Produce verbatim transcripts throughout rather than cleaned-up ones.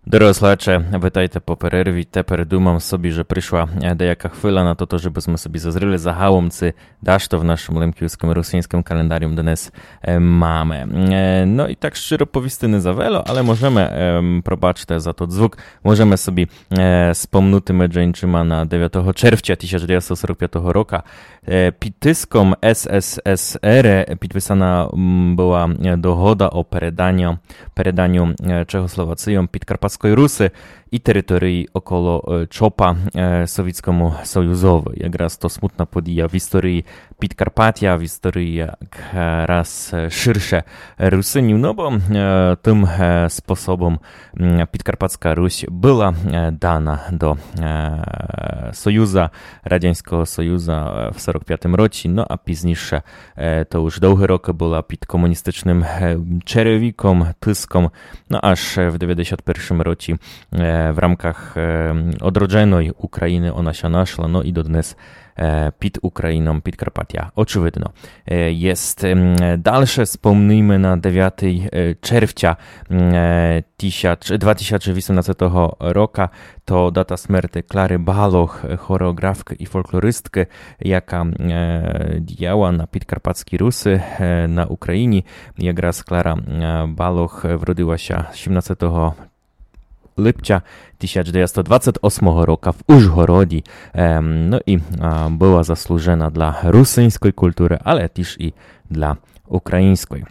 Дорогы слухаче, витайте по перерві. Тепер думам собі, же пришла, е, даяка хвиля на тото, жебы сьме собі зазріли загалом, ци дашто в нашым лемківскым русиньскым календарі днес, е, маме. Е, но і так щиро повісти не за вело, але можеме, ем, пробачте за тот звук, можеме собі, е, спомнути меджі иншыма на девятого червця тисяч девятсот сорок пятого рока, е, під тиском С С С Р підписана, м, была, е, догода о переданю, переданю, е, Чехословацийом Підкарпатської Руси і території около, е, Чопа, е, Совітському Союзови. Якраз то смутна подія в історії Підкарпатя, в історії як, е, раз, е, ширше Русинів, но бо, е, тым, е, способом, м, Підкарпатська Русь была, е, дана до, е, Союза, Радянського Союза, е, в сорок пятым році, но а пізніше, е, то уж довгі рокы была під комуністичным, е, черевіком, тиском, но аж, е, в девятдесят першым році, е, в рамках, е, одродженої Україны она ся нашла, но і доднес, е, під Україном, Підкарпатя. Очевидно, е, єст. Ем, дальше спомнийме на девятый, е, червця, м, е, тисяч, два тисячі вісімнадцятого рока, то дата смерти Клары Балох, е, хореографкы і фолклористкы, яка, е, діяла на Підкарпатській Руси, е, на Україні. Якраз Клара, е, Балох, е, вродила ся сімнадцятого липця тисяч девятсот двадцять осмого рока в Ужгороді. Ем, но і, а, была заслужена для русинської културы, але тіж і для української.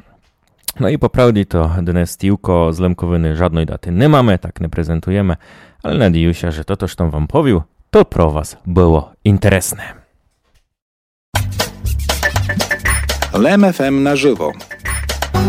Но і по правді то днес тілько, з Лемковины жадної даты не маме, так не презентуєме, але надію ся, же тото, што вам повів, то про вас было інтересне. Лем Ф М на живо.